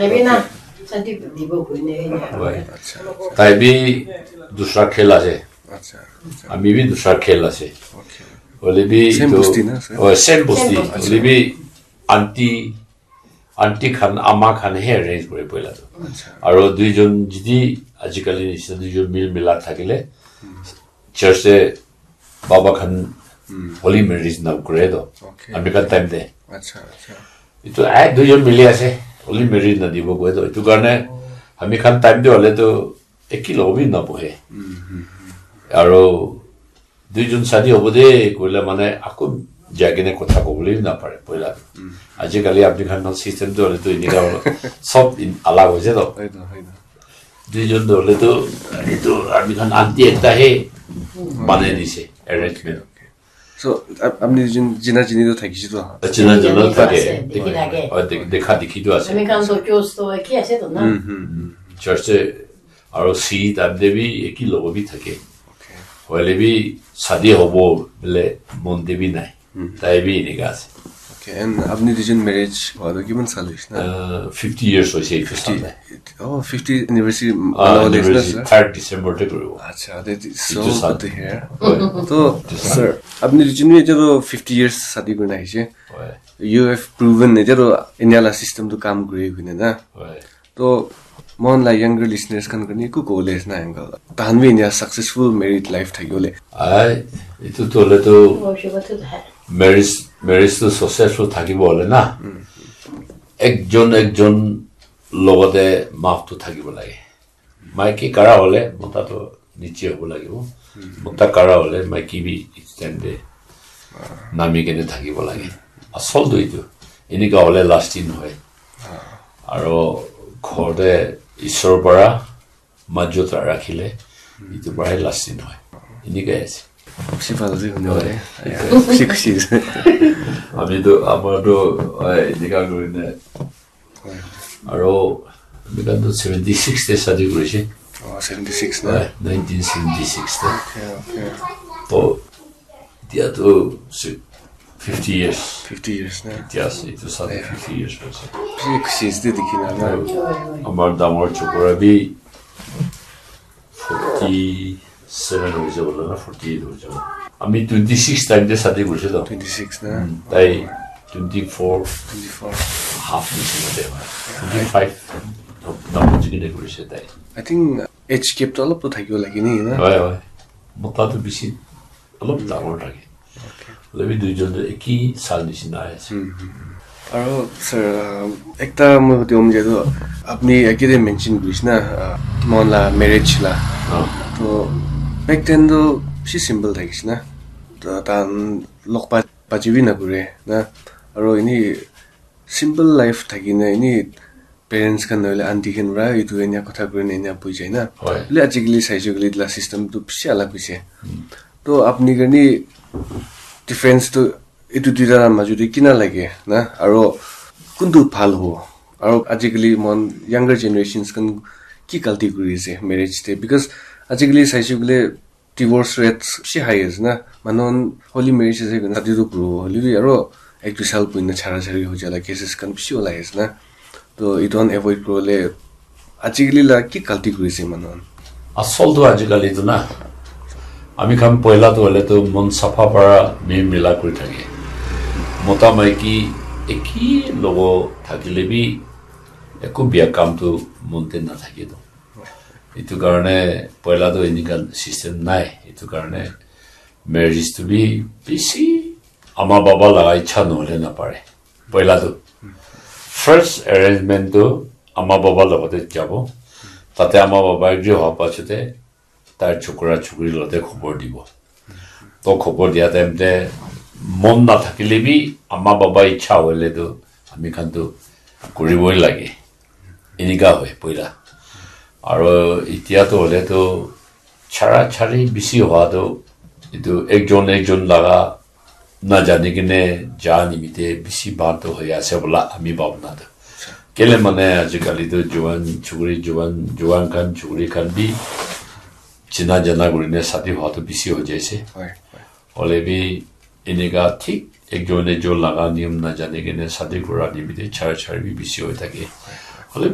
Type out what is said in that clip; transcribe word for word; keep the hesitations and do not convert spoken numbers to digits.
Tapi na, sadi dibo kuine na. Wai. Tai bi dusra khel ase. Acha. Ami bi dusra khel ase. Okay. Hoile bi same bosti na, sir? Oh, same bosti. Same bosti. Hoile bi aunty, aunty khan, ama khan he arrange kore poila tu. Acha. Aro duijon jodi ajikali nisina duijon mil milak thakile, church te baba khan holy marriage na kore to. Okay. Ami khan time te. Acha, acha. Itu ai duijon mili ase, holy marriage na dibo koi to. Itu karne ami khan time te hole to eki logo bi na bohe. Aro duijon sadi hobo de koile mane ako jai kene kotha kobole bi na pare poila. Ajikali apni khan system to hole to enika holo. Sob in alag hoise to. Hoy na, hoy na. Duijon to hole to, itu ami khan aunty ekta he banai dise, arrangement. So, ap-, apni duijon jina jini to thakise to? Jina jina thake. Ase, dikhi thake. Oh, de-, dekha dikhi to ase. Ami khan to church to eki ase to na. Church te aro si time te bi eki logo bi thake. Okay. Hoile bi sadi hobo bole mon te bi nai. Tai bi enika ase. Okay, and apni duijon marriage hua to kiman sal hoise na? Uh, fifty years hoise etu sal te. Oh, fifty anniversary Ah, manabole ase na, anniversary sir? Third December te kuribo. Acha, that is so good to hear. Etu sal. Hoi. To, etu sal. Sir, apni duijon bi etia to fifty years sadi kurina ahise. Hoi. You have proven etia to India la system to kam kuri kene na. Hoi. To, mon la younger listeners khan kani ku kole na angle. Tahan bi India successful married life thaki bole. Ai, itu to le to marriage, marriage to successful thaki bole na. Ekjon, ekjon logote maf to thaki bole. Maiki kara hole, mota to niche hobo lagibo. Mota kara hole, maiki bi extend de. Nami kene thakibo lage. Asol tu itu. Enika hole lasting hoy. Aro ghor te Isor para majot rakhile, itu para lasting hoy. Enika ase. Khushi pal ji hune wale. Khushi, khushi. Ami tu, amar tu, ai, enika kuri ne. Aro, ami khan tu seventy six te shadi kurise. Oh, seventy six na? Ai, nineteen seventy six te. Okay, okay. To, etia tu si-, fifty years. Fifty years na? Etia ase, etu sal te fifty years hoise. Bishi khushi ase de dikhi na na. Aro, amar dangor chokora bi forty seven hoise bole na, forty eight hoise bole. Ami twenty six time te shadi kurise to. Twenty six na? Mm, tai twenty four. Twenty four. Half nisina de hoy. Twenty five. Dangor jiki de kurise tai. I think age gap to olop to thakibo lage ni na? Hoy, hoy. Mota tu bishi olop dangor thake. Okay. Hoile bi duijon tu eki sal nisina ase. Hmm, hmm, hmm. Aro, sir, uh, ekta moi hudibo mon jai tu, apni age te mention kurise na, uh, mon la marriage la. Ah. To, back then tu bishi simple thakise na. To, tan log pa, pachi bi na kure na. Aro ini simple life thaki na, ini parents khan nohoile aunty khan para etu enia kotha kuri na enia bui jai na. Hoy. Hoile ajikali saise koile etu la system tu bishi alag hoise. Hmm. To apni karne difference tu etu duita la majo te kina lage na? Aro kuntu bhal hobo? Aro ajikali mon younger generations khan ki galti kuri ase marriage te? Because ajikali saise koile divorce rates bishi high ase na. Manu khan holy marriage ase koina shadi tu kuribo hoile bi aro ek dui sal buhi na chara chari hoi jai la cases khan bishi olai ase na. To etu khan avoid kuribole ajikali la ki galti kuri ase manu khan? Asol tu ajikali tu na, ami khan poila tu hoile tu mon sapha para mil mila kuri thake. Mota maiki eki logo thakile bi eku bia kam tu mon te na thake to. Etu karne poila tu enika system nai. Etu karne marriage tu bi bishi ama baba laga ichha nohole na pare. Poila tu first arrangement tu ama baba logote jabo. Tate ama baba agree howa pachote tar chokra chokri logote khobor dibo. To khobor dia time te mon na thakile bi ama baba ichha hoile tu ami khan tu kuriboi lage. Enika hoi poila. Aro etia to hole to chara chari bishi hoa to etu ekjon ekjon laga na jani kene ja nimite bishi bhal to hoi ase bola ami bhabna to. Kele mane ajikali to juan chukri, juan, juan khan chukri khan bi china jana kuri ne shadi hoa to bishi hoi jaise. Hoi, hoi. Hole bi enika thik ekjon ekjon laga niyom na jani kene shadi kura nimite chara chari bi bishi hoi thake. Hoilebi